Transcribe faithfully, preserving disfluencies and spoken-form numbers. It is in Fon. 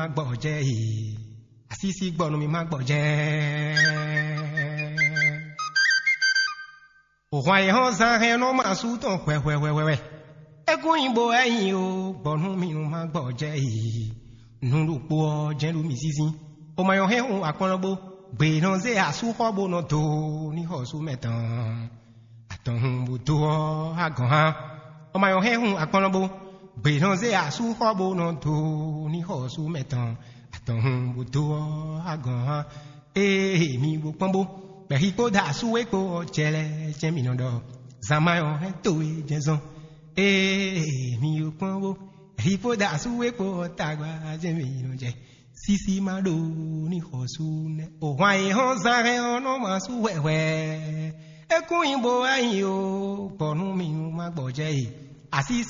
má gbɔjɛ yi. Asísí gbɔ nú mi má gbɔjɛ. Òhwan e hɔn zán hɛn nɔ ma sú tɔn hwɛhwɛhwɛhwɛ. É kún nyi bo wɛ nyi o, gbɔ nú mi nú má gbɔjɛ yi. Nǔ ɖokpó ɔ́ jɛ́n ɖo mì zínzín. O ma nyɔ hɛn hun akplɔ́ bó. Gbě nɔ zé asú xɔ bó nɔ do ní xɔ sú mɛ tɔn. Atɔn hun bó dó ɔ́, agɔn hán. Ɔmɔ ayɔ hɛn hun akplɔ́ bó. Gbě nɔ zé asú xɔ bó nɔ do ní xɔ sú mɛ tɔn. Atɔn hun bó dó ɔ́, agɔn hán. Ee, mi bó kpɔ́n bó. Bɛ̌xi kpó da asú wé kpó ɔ́, jɛ lɛ jɛ mi nɔ ɖɔ. Zan ma yɔ hɛn to e jɛ zɔn. Ee, mi bó kpɔ́n bó. Bɛ̌xi kpó da asú wé kpó ɔ́, tagba jɛ mi nɔ jɛ. Sisi ma ɖo ní xɔ sú nɛ. O hwan e hɔn zan hɛn ɔ́ nɔ ma sú hwɛhwɛ. É kún nyi bo wɛ nyi o, gbɔ nú mi nú ma gbɔjɛ yi. Asísí